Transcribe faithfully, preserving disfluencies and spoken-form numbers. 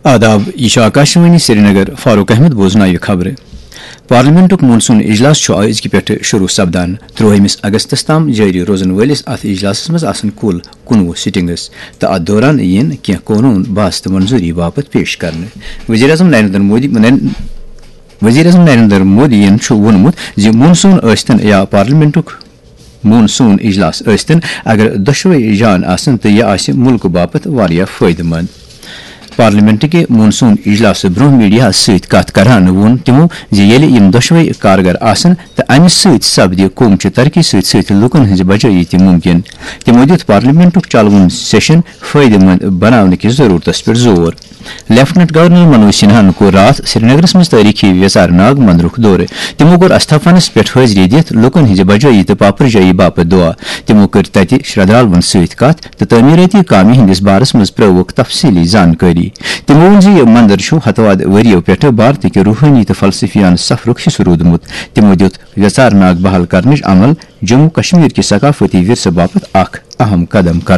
آداب، یہِ چھُ آکاشوانی سرینگر۔ فاروق احمد بوزناوِ خبرٕ۔ پارلیمنٹُک مون سون اجلاس چھُ أزکہِ پٮ۪ٹھٕ شروع سپدان۔ ترٛوہمِس اگستس تام جٲری روزن وٲلِس اتھ اجلاسس منٛز آسن کُل کُنوُہ سٹنگز تہٕ اتھ دوران یِن کینٛہہ قونوٗن باضابطہ منظوٗری باپتھ پیش کرنہٕ۔ وزیر اعظم نریندر مودی، وزیر اعظم نریندر مودیَن چھُ ووٚنمُت زِ مون سون ٲسۍتن یا پارلیمنٹُک مون سون اجلاس ٲسۍتن، اگر دۄشوے جان آسن تہٕ یہِ آسہِ مُلکہٕ باپتھ واریاہ فٲیدٕ مند۔ پارلیمنٹ کہِ مون سون اجلاسہٕ برونٛہہ میڈیاہَس سۭتۍ کتھ کران ووٚن تِمو زِ ییٚلہِ یِم دۄشوے کارگر آسن تہٕ امہِ سۭتۍ سپدِ قومچہِ ترقی سۭتۍ سۭتۍ لوٗکن ہٕنٛزِ بجٲیی تہِ مُمکِن۔ تِمو دیُت پارلیمنٹُک چلوُن سیشن فٲیدٕ مند بناونہٕ کِس ضروٗرتس پٮ۪ٹھ زور۔ لیفٹیننٹ گورنر منوج سنہاہن کوٚر راتھ سرینگرس منٛز تٲریخی ویژار ناگ مندرُک دورٕ۔ تِمو کوٚر استھافنس پٮ۪ٹھ حٲضری دِتھ لوٗکن ہٕنٛزِ بجٲیی تہٕ پاپرجٲیی باپتھ دعا۔ تِمو کٔر تتہِ شردھالون سۭتۍ کتھ تہٕ تعمیٖرٲتی کامہِ ہٕنٛدِس بارس منٛز پرٲوٕکھ تفصیٖلی زانکٲری۔ تِمو ووٚن زِ یہِ مندر چھُ ہتہٕ وادٕ ؤرِیو پٮ۪ٹھٕ بھارتٕکہِ روحٲنی تہٕ فلسفیانہٕ سفرُک حصہٕ روٗدمُت۔ تِمو دِیُت ویژار ناگ بحال کرنٕچ عمل جموں کشمیر کہِ ثقافتی ورثہٕ باپتھ اکھ اہم قدم قرار۔